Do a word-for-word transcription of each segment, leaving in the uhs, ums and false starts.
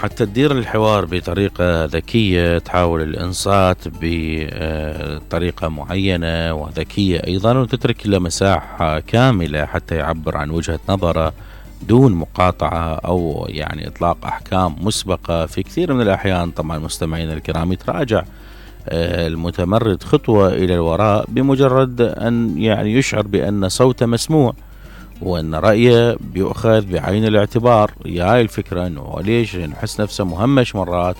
حتى تدير الحوار بطريقة ذكية، تحاول الإنصات بطريقة معينة وذكية أيضا، وتترك له مساحة كاملة حتى يعبر عن وجهة نظره دون مقاطعة أو يعني إطلاق أحكام مسبقة. في كثير من الأحيان طبعا مستمعين الكرام يتراجع المتمرد خطوة إلى الوراء بمجرد أن يعني يشعر بأن صوته مسموع وأن رأيه بيؤخذ بعين الاعتبار. ياي الفكرة أنه ليش نحس نفسه مهمش مرات،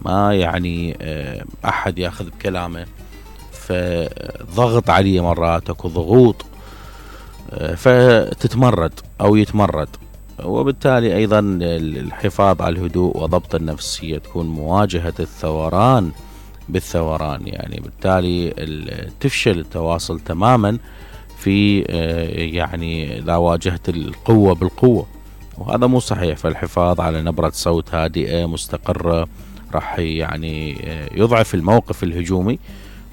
ما يعني أحد ياخذ بكلامه، فضغط عليه مرات، اكو ضغوط، فتتمرد أو يتمرد. وبالتالي أيضا الحفاظ على الهدوء وضبط النفس هي تكون مواجهة الثوران بالثوران، يعني بالتالي تفشل التواصل تماما في يعني إذا واجهت القوة بالقوة، وهذا مو صحيح. فالحفاظ على نبرة صوت هادئة مستقرة راح يعني يضعف الموقف الهجومي،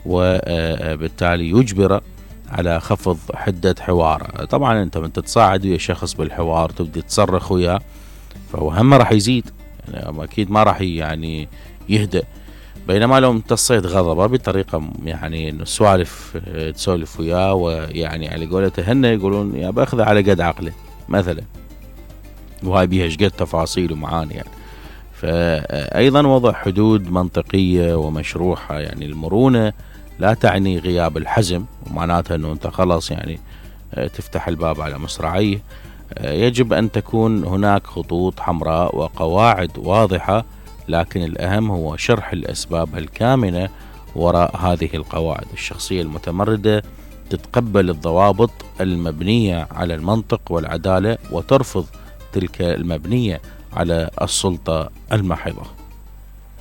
وبالتالي يجبره على خفض حدة حواره. طبعا انت من تتصاعد ويا شخص بالحوار تبدي تصرخ وياه، فهو هم راح يزيد، يعني اكيد ما راح يعني يهدأ. بينما لو امتصيت غضبه بطريقة يعني انه سوالف تسولف وياه، ويعني على قولته هن يقولون يا باخذه على قد عقله مثلا، وهاي بيها شقد تفاصيل ومعاني يعني. فأيضا وضع حدود منطقية ومشروحة، يعني المرونة لا تعني غياب الحزم، ومعناتها انه انت خلاص يعني تفتح الباب على مصراعيه. يجب ان تكون هناك خطوط حمراء وقواعد واضحة، لكن الأهم هو شرح الأسباب الكامنة وراء هذه القواعد. الشخصية المتمردة تتقبل الضوابط المبنية على المنطق والعدالة، وترفض تلك المبنية على السلطة المحضة.